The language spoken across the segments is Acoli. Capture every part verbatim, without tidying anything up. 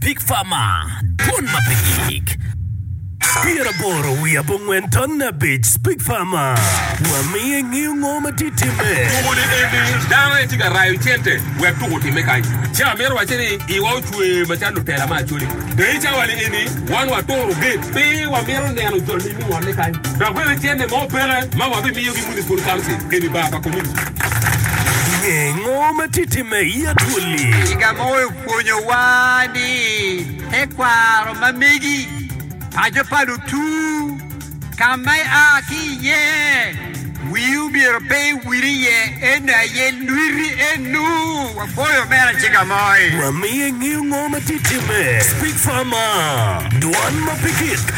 Speak Farmer, Dwon ma pe gik. Pyeraboro wiye abongwen ton abic Speak Farmer, Wamiyo ingeyo ngo ma tye timme. Tuko ni eni dano aye tye ka rayo cente wek tuko otimme kany. Ci amito wacce ni iwa ocwe macalo lutela me Acholi. Dong i cawa ni eni wan waturo gate pe wamito neno jo lim i ngolle kany. Dok bene cente mo peke ma wabimiyogi Municipal Council eni bar pa community. Nge ngo ma tye timme i Acholi. Ciga mo opwonyowa ni tekwaro ma megi, paco pa lutu, ka ma ia ki iye, wii omyero pe iwil iye, eno aye lwiti enu. Wapwoyo omera Ciga Moi. Wamiyo ingeyo ngo ma tye timme. Speak Farmer, Dwan ma pe gik.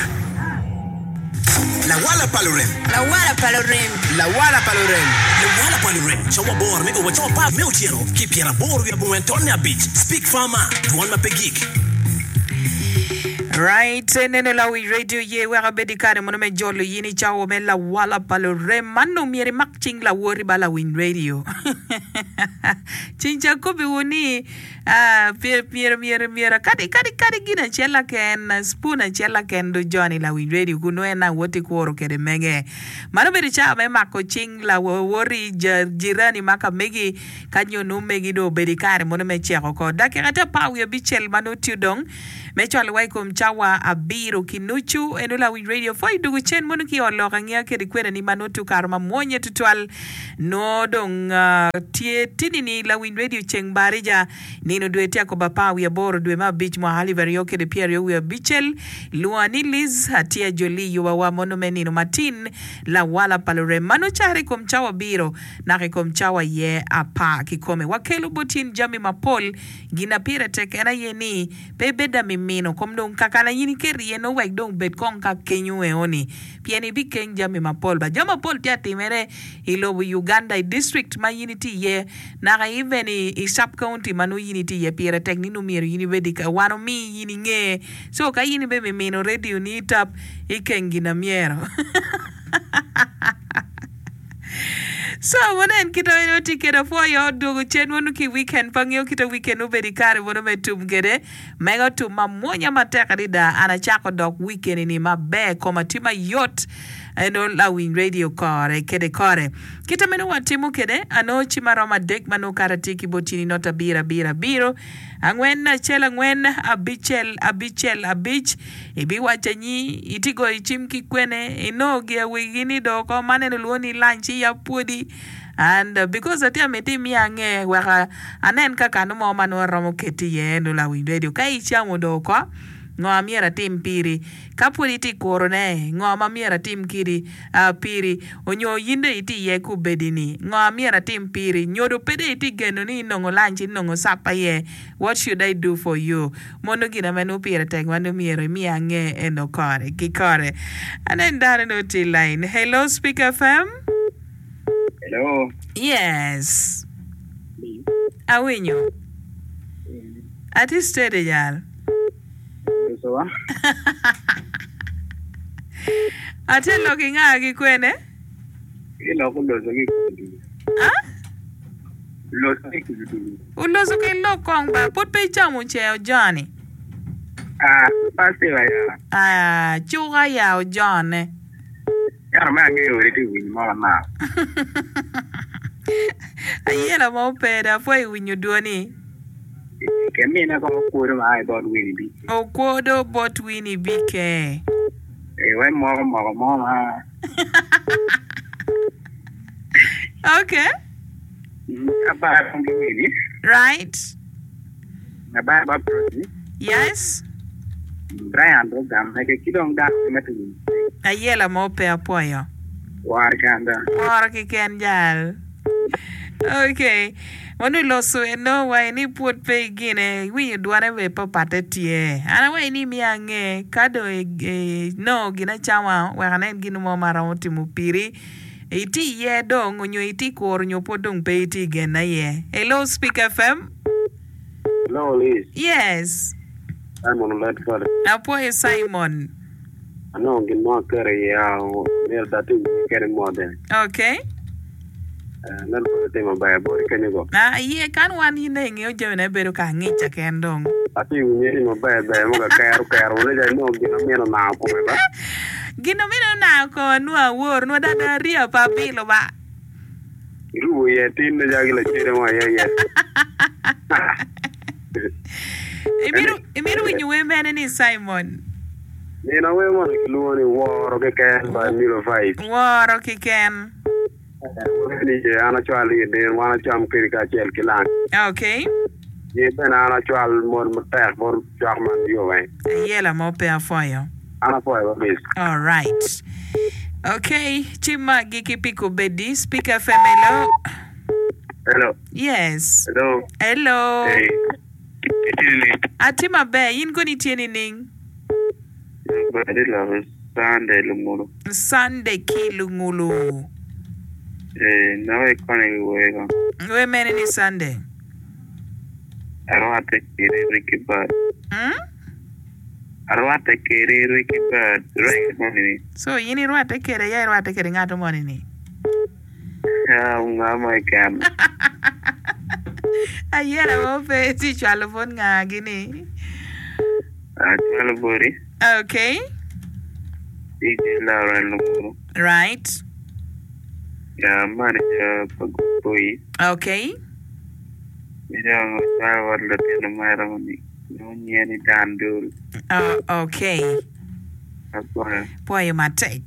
Lawala pa lurem. Lawala pa lurem. Lawala pa lurem. Lawala pa lurem. Cawa aboro me o wa cawa apar me otyeno ki pyeraboro wiye abongwen tonne abic. Speak Farmer, Dwon ma pe gik. Right, neno lawic radio ye wek abed i kare mono me jolo yin i cawa me lawala pa lurem. Man nongo myero imak cing lawoti ba lawiny radio. Cing ca kobiwu ni ah, myero myero myero kadi kadi kadi gin acel laken, spoon acel laken do joni lawiny radio kun nongo en awoti kuro kede mege. Mano obedo cawa me mako cing lawoti jirani ma ka megi ka nyo nongo megi dong obedo i kare mono me ceko oko. Dakika tye apar wiye abicel ma nongo tye dong me cwalo wa i kom cawa abiro ki nucu. Eno lawiny radio pwoyo dugu cen mono ki i ot lok angiya kede kwena ni ma nongo tye okato ma mwonye tutwal. Nongo dong tye tini ni lawiny radio ceng barija nino dwe tye akobo apar wiye aboro dwe me abic mwaka alip aryo kede pyeraryo wiye abicel. Lwonga ni Liz atye ajoli yuba wa mono me nino matin lawala pa lurem ma nongo caro i kom cawa abiro naka i kom cawa aye apar kikome. Wakelo bot in jami mapol. Gin a pire tek en aye ni pe ibed amimino kom dong kakana in iketo iye nongo wek dong bed kong ka kenyo eoni pien ibikeng jami mapol ba. Jami mapol tye atimere i lobo Uganda i district ma in itye iye naka even i sub county ma nongo in itye iye pire tek ni nongo myero in ibed i wan omi in inge so ka in ibe mimino radio ni itap ikeng gin a myero. So wunen kit ma en tye kwede apwoyo odwogo cen wunu ki i weekend pe angeyo kit ma weekend obedo i kare mono me tum kwede mega otum mamwonya matek adada an acako dok weekend ni maber koma tye mayot eno lawiny radio kore kede kore kite meno watimo kwede anongo cim aromo adek ma nongo kara tye ki bot in not abiro abiro abiro angwen acel angwen abicel abicel abic ibiwaco nyi itye goyo cim ki kwene inongo gia wigi ni do oko man en olwongo ni lunch iya pwodi and uh, because atye amiti imiya ange wek anen ka kano mo ma nongo aromo keti iye eno lawiny radio ka icamo do oko ngo a myero atim piri ka pwod itye kurone ngo ma myero atim kidi uh, piri onyo in dong itye iye kubedi ni ngo a myero atim piri nyodo pe dong itye geno ni inongo lunch inongo supper iye what should I do for you mono gin ame nongo pire tek ma nongo myero imiya ange eno kore ki kore anen dano nongo tye i line hello Speak F M. Hello. Yes, awinyo atye steady jal. Lusowa. Atye lok i nga ki kwene? Iloko loso ki kududu. Ah? Loso ki kududu. Oloso ki lok kong ba pud pe icamo ce ojoni. Ah, pastor ya. Ah, cuka ya ojone. Ento me angeyo wede tye winyo mo manok. Ayela mo pe da apwoyo winyo dwoni. Ke mine kong okwodo ma a i bot Winnie B K. Okwodo bot Winnie B K. Eh, wai moko moko mo ma. Okay. Abara kong ki Winnie. Right. Abara ba Prosi. Yes. Brian do gamme ke ki dong dano me tugo. Ayela mo pe apwoyo. War kanda. Woro kiken jal. Okay. Mono iloso eno wa ni pwod pe igine iwinyo dwane be pe opatte tye. An awaci ni imiya ange ka dong inongo gin acama wek anen gin mo ma aromo timo piri. Itye iye dong onyo itye kuro onyo pwod dong pe itye igena iye. Hello Speak F M. Hello Liz. Yes. Simon Ledford. Apwoyo Simon. Anongo gin mo aketo iye myero dong atim kede mode. Okay. Nen kong itimo maber boti kenyo go. Ah, iye kan wan in dong ingeyo jamine bedo ka angica ken dong. Ati winye ni maber ber mo ka kero kero wune ja inongo gin amino nango kome ba. Gin amino nango koma nwo awor nwo dada ariya pa apilo ba. Irubo iye tin ne ja gi lacede mo iye iye. Imito imito winyo wer mene ni Simon? Nino wer moni kilwongo ni Woro Keken by Milo Vibes. Woro Keken. Wer ni ye an acwal i din wan acam kedi kacel ki lang. Okay. Ye bene an acwal mot matek bot cwak man yo weng. Ayela mo pe apwoyo. An apwoyo ba miss. Alright. Okay, ci magi ki pi kobedi. Speak F M hello. Hello. Yes. Hello. Hello. Hey. Itye nining? Atye maber, in kono itye nining? Atye loko Sunday lungulu. Sunday ki lungulu. Eh, nako ikone ki wer ko. Wer mene ni Sunday? Arwatte kede Ricky Bird. Hmm? Arwatte kede Ricky Bird. Reggae moni ni. So in irwatte kede ya irwatte kede ngat moni ni? Ah, nga mo keken. Ayela mo pe ci cwalo bot nga gini? Acwalo boti. Okay. D J Lauren Lungulu. Right. Ya manager pa Good Boys. Okay. Dong acwalo bot lutino mera ni nonye ni Dan Dul. Uh, okay. Apwoyo. Pwoyo matek.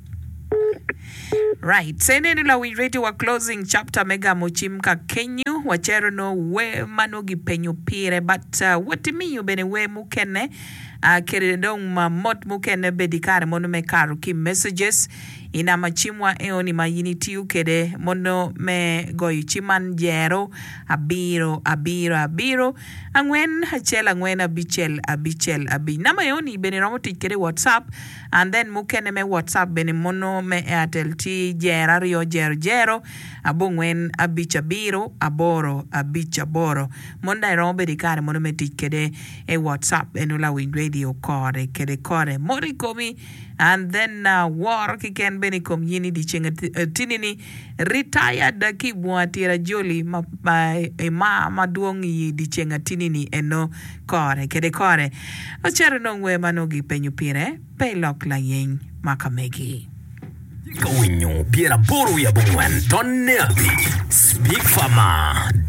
Right. Seneno lawiny radio wa closing chapter me gamo cim ka kenyo wacero no wer ma nongo gipenyo pire but uh, wot imiyo bene wer mukene uh, kede dong ma mot mukene bedi kare mono me kato ki messages i namba cimwa eoni ma in itiyo kede mono me goyo cim man jero abiro abiro abiro angwen acel angwen abicel abicel abic. Namba eoni bene romo tic kede i WhatsApp and then mukene me WhatsApp bene mono me Airtel tye jero aryo jero jero abongwen abic abiro aboro abic aboro. Mono dong iromo bedo i kare mono me tic kede i WhatsApp eno lawiny radio kore kede kore mot i komi and then uh, woro keken bene i kom yin i dyeceng atini ni retired ki i bunga tira joli ma, ma ima madwong i dyeceng atini ni eno kore kede kore ocito nong wer ma nongo gipenyo pire pe ilok layeny ma ka megi. Tye ka winyo pyeraboro wiye abongwen tonne abic. Speak Farmer.